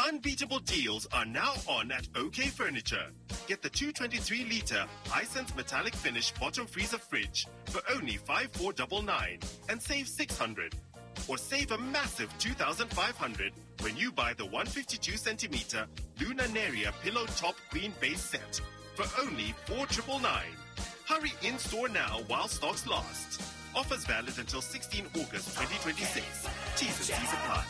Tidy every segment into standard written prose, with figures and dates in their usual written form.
Unbeatable deals are now on at OK Furniture. Get the 223-litre Hisense metallic finish bottom freezer fridge for only 5,499 and save 600. Or save a massive 2,500 when you buy the 152-centimeter Luna Neria pillow top queen base set for only 4,999. Hurry in-store now while stocks last. Offers valid until 16 August 2026. T's and C's apply.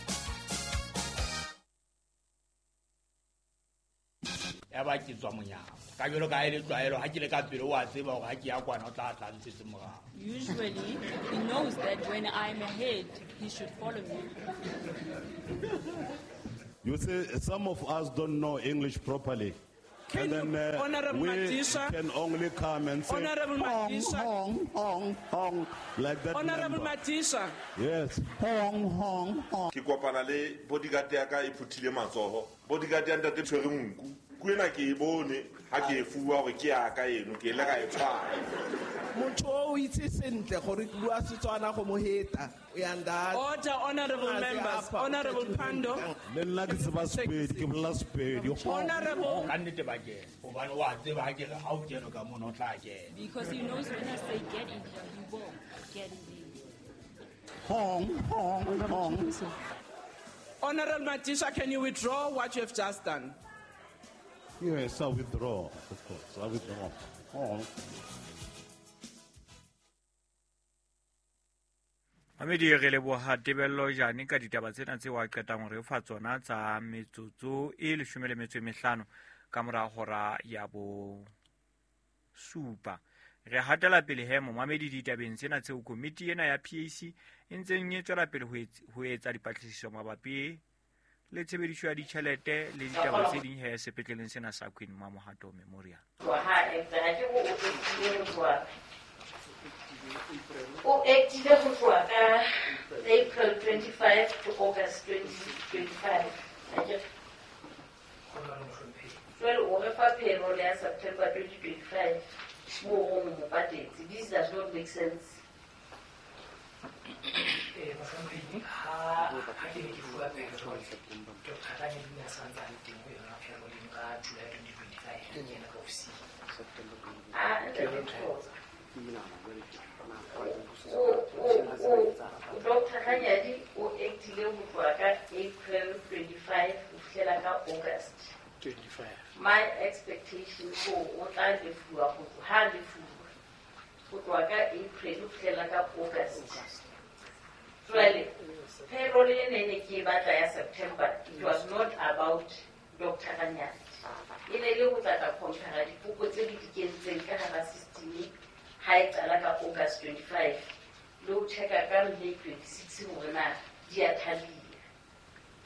Ya ba ke tswa monyako ka jalo ka e le tlwaelo ha ke le ka pele wa tseba hore ha ke ya kwana o tla tla ntshetse morao. Usually, he knows that when I'm ahead, he should follow me. You see, some of us don't know English properly. Can And you, then Honorable we Madisha, can only come and say, Honorable hong, Madisha. hong, hong, hong, like that Honorable member. Madisha. Yes, hong, hong, hong. Ke kopana le bodyguard ya ka e phuthile matsoho. Bodyguard ya ntate tshwere nku. Ku ena ke e bone ha ke e fuwa hore ke ya ka eno, ke ile ka e tshwara. Motho o itse sentle gore ke bua Setswana go mo heta. O ya nda. Order, honorable Ah, members. apa, Honorable Pandor. Le nna ke tseba Sepedi, ke bolela Sepedi. Hong, Honorable. Ka nnete ba kena hobane wa tseba ha ke re ha o kene ka mona o tla kena. Because he knows when I say get in here, he will get in there. Hong, hong, hong. Honorable Madisha, can you withdraw what you have just done? Yes, I withdraw, of course. I withdraw. Hong. Mamedi re leboha Tebello Jane ka ditaba tsena tseo a qetang hore fa tsona tsa metsotso e 15 ka mora hora ya bo supa. Re hatela pele he momamedi ditabeng tsena tseo komiti ena ya PAC e ntseng e tswela pele ho etsa dipatlisiso mabapi le tshebediso ya ditjhelete le ditaba tse ding he sepetleleng sena sa Queen Mamohato Memorial. O actile ho tloha ka April 25 to August 2025. Akere? Jwale o re fa payroll ya September 2025 moo o mo patetse. This does not make sense. Mohlomphehi, ha ke ne ke fuwa payroll, Dr. Ranyadi o ne a sa ntse a le teng ho yona payroll eno ka July 2025 ha ke kena ka ofising. Ah, ntate Thokoza. Dr. Ranyadi o actile ho tloha ka April 25 ho fihlela ka August. 25. My expectation ko o tla lefuwa ho ha lefuwa ho tloha ka April ho fihlela ka August. Jwale payroll e ne ke e batla ya September, it was not about Dr. Ranyadi. E ne le ho tla tla compare dipoko tse di kentseng ka hara system ha e qala ka August 25 le ho checka ka May 26 hore na di a thalia.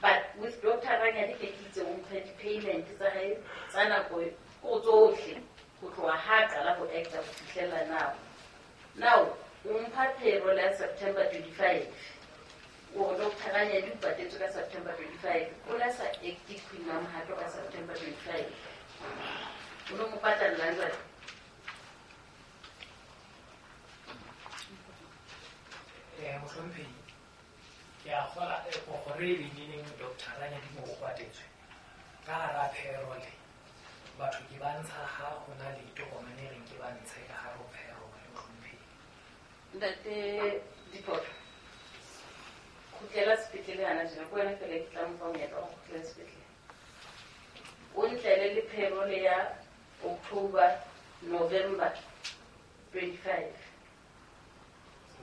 But with Dr. Ranyadi ke itse o mphe di-payment tsa hae tsa nako ko tsohle ho tloha ha qala ho acta ho fihlela now. Now o mpha payroll ya September 25. O Dr. Ranyadi o patetswe ka September 25. O la sa acte Queen Mamohato ka September 25. O no mo patalla jwale? Mohlomphehi, ke a kgola gore e leneng Dr. Ranyadi mo o patetswe ka hara payroll. Batho ke ba ntsha ha ho na le tokomane e reng ke ba ntshe ka hara payroll, mohlomphehi. Ntate Diphoto, kgutlela sepetlele hana tjena, ke wena fela ke tla mo fa monyetla wa ho kgutlela sepetlele. O ntlele le payroll ya October, November 25.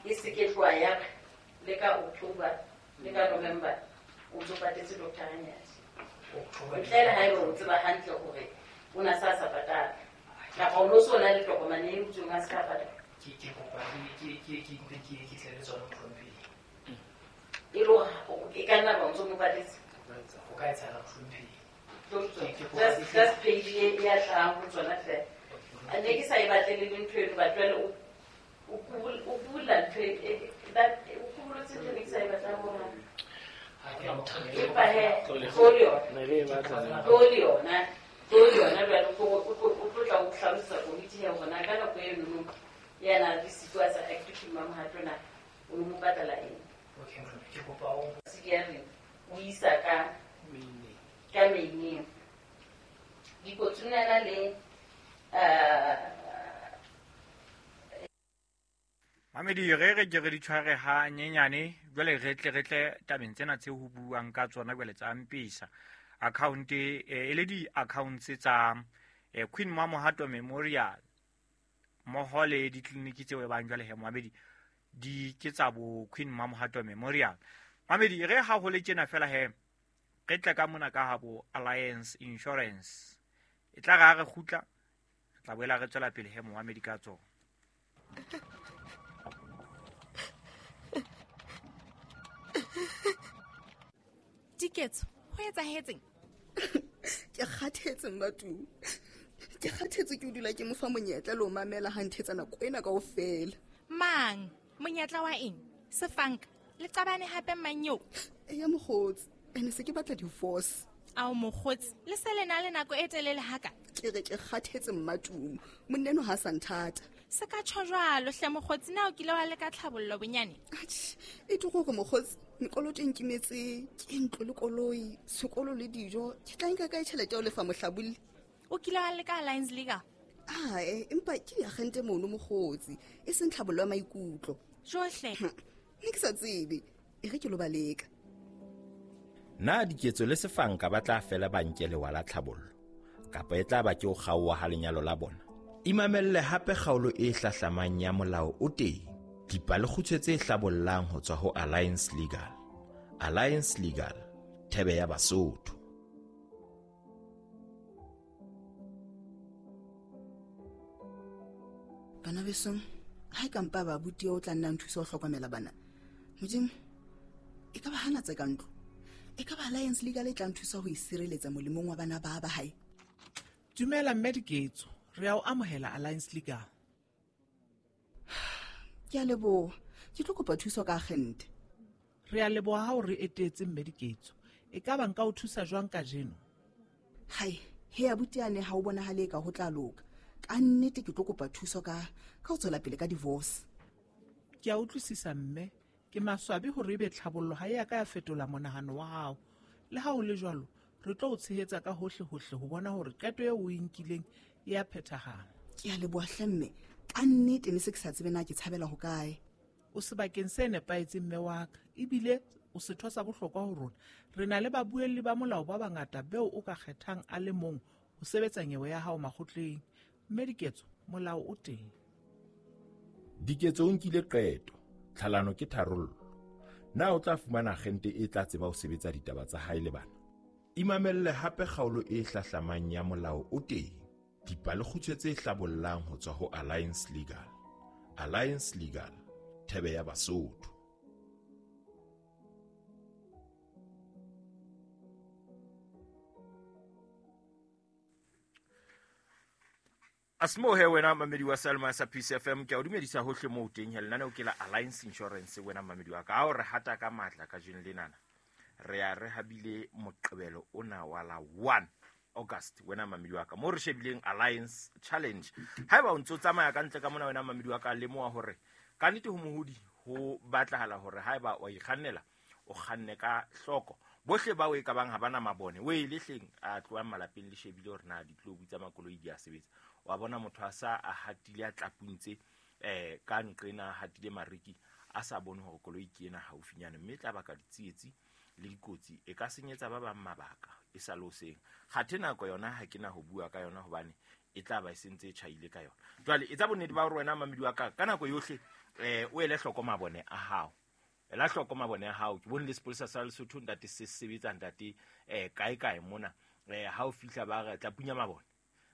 E se ke tloha ya re le ka October le ka November o ntso patetse Dr. Ranyadi. Ntle le haeba o tseba hantle hore o na sa sa patala kapa o no so na le tokomane e utsweng a se ka patala. Ke kopa ke tle le tsona mohlomphehi. E le hore e ka nna ba o ntso mo patetse? Ho ka etsahala mohlomphehi. Just page e ya hlahang ho tsona feela. A ne ke sa e batle le ntho eno, but jwale o kubula ntho e that o kubulotse ntho e ne ke sa e batlang ho hang. Empa he, tlo le yona. Tlo le yona. Tlo le yona jwale o tlo tla o hlalosetsa komiti ya hore na ka nako eno ya na le siko a sa acte Queen Mamohato na o no mo patala eng. Okay, mohlomphehi, ke kopa o Se ke ya reng o isa ka ka Mamedi re re ke re di tshware ha nyenyane jwale re tle tabeng tsena tse ho buang ka tsona jwale tsa Mpisa account e le di accounts tsa Queen Mamohato Memorial mmoho le ditleliniki tseo e bang jwale he Mamedi di ke tsa bo Queen Mamohato Memorial. Mamedi re ha ho le tjena fela he re tle ka mona ka ha bo Alliance Insurance e tla ra re kgutla re tla boela re tswela pele he Mamedi ka tsona. Diketso, ho etsahetseng? Ke kgathetse Mmatumi. Ke kgathetse ke o dula ke mo fa monyetla le ho mamela ha nthetsa nako ena kaofela. Mang? Monyetla wa eng? Sefanka, le qabane hape mang eo? Eya mokgotsi, ene se ke batla divorce. Ao mokgotsi, le se le na le nako e telele haka? Ke re ke kgathetse Mmatumi. Monna eno ha sa nthata. Se ka tjho jwalo hle mokgotsi, na o kile wa leka tlhabollo bonyane? Atjhe, e tlo gore mokgotsi, mekoloto e nkimetse ke ntlo le koloi, sekolo le dijo, ke tla nka kae tjhelete ya ho lefa mohlabolli? O kile wa leka Alliance Legal? Ae, empa ke diagente mono mokgotsi, e seng tlhabollo ya maikutlo. Johle. Ne ke sa tsebe, e re ke lo ba leka. Na Diketso le Sefanka ba tla fela ba nke lewa la tlhabollo kapa e tla ba ke ho kgaoha ha lenyalo la bona? Imamelle hape kgaolo e hlahlamang ya molao o teng. Dipalekgutshwe tse hlabollang ho tswa ho Alliance Legal. Alliance Legal, thebe ya Basotho. Bana besong, ha e ka mpa ba abuti eo o tla nna nthusa ho hlokomela bana. Modimo, e ka ba hana tse ka ntlo. E ka ba Alliance Legal e tla nthusa ho isireletsa molemong wa bana ba ba hae. Dumela mme Diketso, re a o amohela Alliance Legal. Ke a leboha, ke tlo kopa thuso ka agente. Re a leboha ha o re etetse mme Diketso. E ka ba nka o thusa jwang kajeno? Hai, he abuti ane ha o bonahale ka ho tla loka. Ka nnete ke tlo kopa thuso ka ho tswela pele ka divorce. Ke a utlwisisa mme, ke maswabi hore ebe tlhabollo ha e a ka ya fetola monahano wa hao. Le ha ho le jwalo, re tlo o tshehetsa ka hohle hohle ho bona hore qeto eo o e nkileng e a phethahala. Ke a leboha hle mme, ka nnete ne se ke sa tsebe na ke tshabela ho kae. O sebakeng se nepahetseng mme wa ka, ebile o setho sa bohlokwa ho rona. Re na le babuelli ba molao ba bangata beo o ka kgethang a le mong ho sebetsa nyewe ya hao makgotleng. Mme Diketso, molao o teng. Diketso o nkile qeto, tlhalano ke tharollo. Na o tla fumana agente e tla tseba ho sebetsa ditaba tsa hae le bana? Imamelle hape kgaolo e hlahlamang ya molao o teng. Dipalekgutshwe tse hlabollang ho tswa ho Alliance Legal. Alliance Legal, thebe ya Basotho. Asimohe wena mamedi wa Salma sa Peace FM, ke a o dumedisa hohle moo teng he lenaneo ke la Alliance Insurance wena mamedi wa ka. Ha o re hata ka matla kajeno lenana, re a re habile Moqebelo ona wa la 1 August wena mamedi wa ka, mo re shebileng Alliance Challenge. Haeba o ntso tsamaya ka ntle ka mona wena mamedi wa ka, lemoha hore ka nnete ho mohodi ho batlahala hore haeba wa ikgannela o kganne ka hloko. Bohle bao e ka bang ha bana mabone, o e le hleng a tlohang malapeng le shebile hore na ditlobu tsa makoloi di a sebetsa. Wa bona motho a sa a hatile a tlapuntse ka nqena a hatile mariki a sa bone hore koloi ke ena haufinyane, mme e tla baka ditsietsi le dikotsi, e ka senyetsa ba bang mabaka e sa le hoseng. Kgathe nako yona ha ke na ho bua ka yona hobane e tla ba e sentse e tjhaile ka yona. Jwale etsa bonnete ba hore wena mamedi wa ka ka nako yohle o ele hloko mabone a hao. Ela hloko mabone a hao. Ke bone le sepolesa sa Lesotho ntate se sebetsa ntate kae kae mona. Ha o fihla ba re tla punya mabone.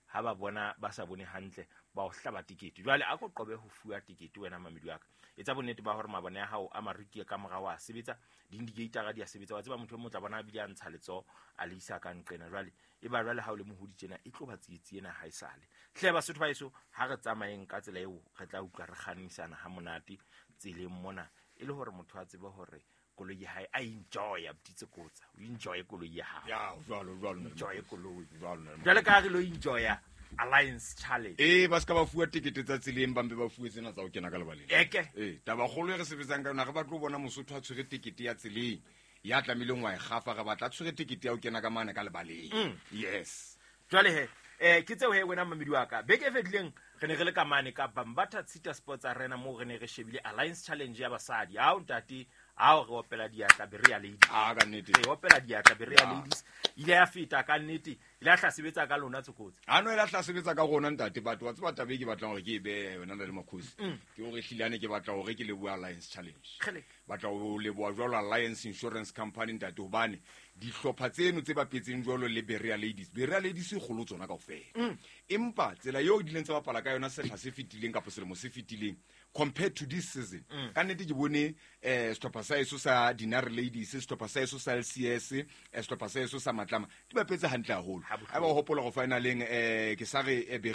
Ha ba bona ba sa bone hantle ba o hlaba tikete. Jwale a ko qobe ho fuwa tikete wena mamedi wa ka. Etsa bonnete ba hore mabone a hao a mariki ka morao a sebetsa, di-indicator di a sebetsa. Wa tseba motho e mong o tla bona a bile a ntsha letsoho a le isa ka nqena. Jwale e ba jwale ha o le mohodi tjena e tlo ba tsietsi ena ha e sale. Hle Basotho ba heso, ha re tsamayeng ka tsela eo re tla utlwa re kgannisana ha monate tseleng mona, e le hore motho a tsebe hore koloi ya hae a enjoy, a botitse kotsa, o enjoy koloi ya hao. Ya, jwalo, jwalo, Enjoy koloi. Jwalo, jwalo. Jwale ka re lo enjoya Alliance Challenge. Ba ska ba fuwa tekete tsa tseleng, ba mpe ba fuwe tsena tsa ho kena ka lebaleng. Eke. Taba kgolo e re sebetsang ka yona, re batla ho bona Mosotho a tshwere tekete ya tseleng, ya tlamehileng wa e kgafa, re batla a tshwere tekete ya ho kena ka mane ka lebaleng. Yes. Jwale he, ke tseo he wena mamedi wa ka. Beke e fetileng Re ne re le ka mane ka Bambata Tshita Sports Arena moo re ne re shebile Alliance Challenge ya basadi. Ao ntate, ao re opela diatla Berea Ladies. Ah, ka nnete. Re opela diatla Berea Ya. Ladies. Ile ya feta ka nnete, ile ya tla sebetsa ka lona Tsokotsi. Ano e la tla sebetsa ka rona ntate, but wa tseba taba e ke batlang hore ke e behe yona le Makhosi. Ke hore ehlile ke batla hore ke lebohe Alliance Challenge. Kgele. Batla ho leboha jwalo Alliance Insurance Company ntate, hobane dihlopha tseno tse bapetseng jwalo le Berea Ladies, Berea Ladies e kgolo tsona kaofela. Empa tsela eo di ileng tsa bapala ka yona sehla se fetileng kapa selemo se fetileng compared to this season, ka nnete ke bone sehlopha sa heso sa Dinare Ladies, sehlopha sa heso sa LCS, sehlopha sa heso sa Matlama di bapetse hantle haholo. Ha ba o hopola go finaleng, ke sa re Berea